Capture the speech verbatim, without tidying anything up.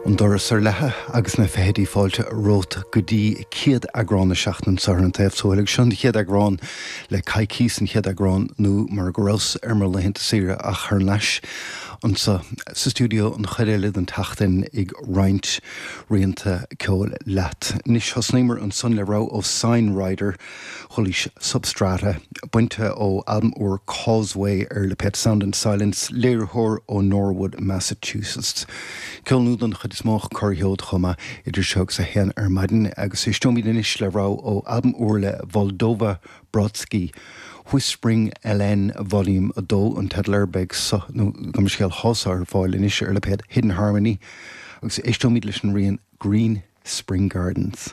An doras ar leathadh agus na feithidí fáilte romhat go dtí céad eagrán na seachtaine seo ar an taobh thuaidh seo an chéad eagrán le coicís an chéad eagrán nó mar go rabhas ar mo laethanta saoire ach thar n-ais anseo sa stiúideo an chuid eile den tseachtain ag roinnt rianta ceoil leat. Anois thosnaíomar ansan le rogha ó Sign Rider chualaís Substrata bainte ó albam úr Causeway ar lipéad Sound and Silence léiritheoir ó Norwood, Massachusetts. Ceol nua don chuid is mó corrcheod chuma idir seo agus a haon ar maidin agus éisteoimid anois le rogha ó albam úr le Voldova Brodsky. Whispering LN Volume a dó an teideal air beidh so nó go scéal hása ar fáil anois ar lipéad Hidden Harmony agus éisteoimid leis an rian Green Spring Gardens.